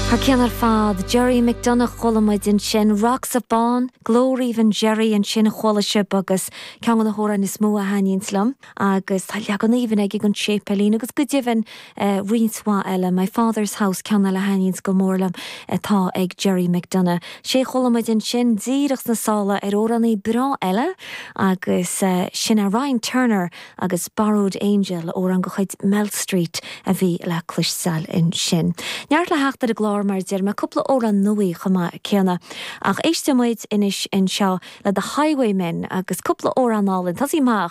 Thar cionn ar fad, Gerry McDonagh chuala muid ansin, Rocks of Bawn, glór aoibhinn Gerry ansin chuala sibh agus ceann de na hamhráin is mó a thaitníonns liom agus tá leagan aoibhinn aige den Séipéilín agus go deimhin roinnt mhaith eile, My Father's House ceann eile a thaitníonns go mór liom atá ag Gerry McDonagh. Sé chuala muid ansin díreach sna sála ar amhránaí breá eile agus sin é Ryan Turner agus Borrowed Angel, amhrán de chuid Mel Street a bhí le cloisteáil ansin. Neart le theacht ar an gclár mar a deir mé, cúpla amhrán nua chomh maith céanna. Ach éistfidh muid anois anseo le The Highwaymen agus cúpla amhrán álainn. Tosaí amach.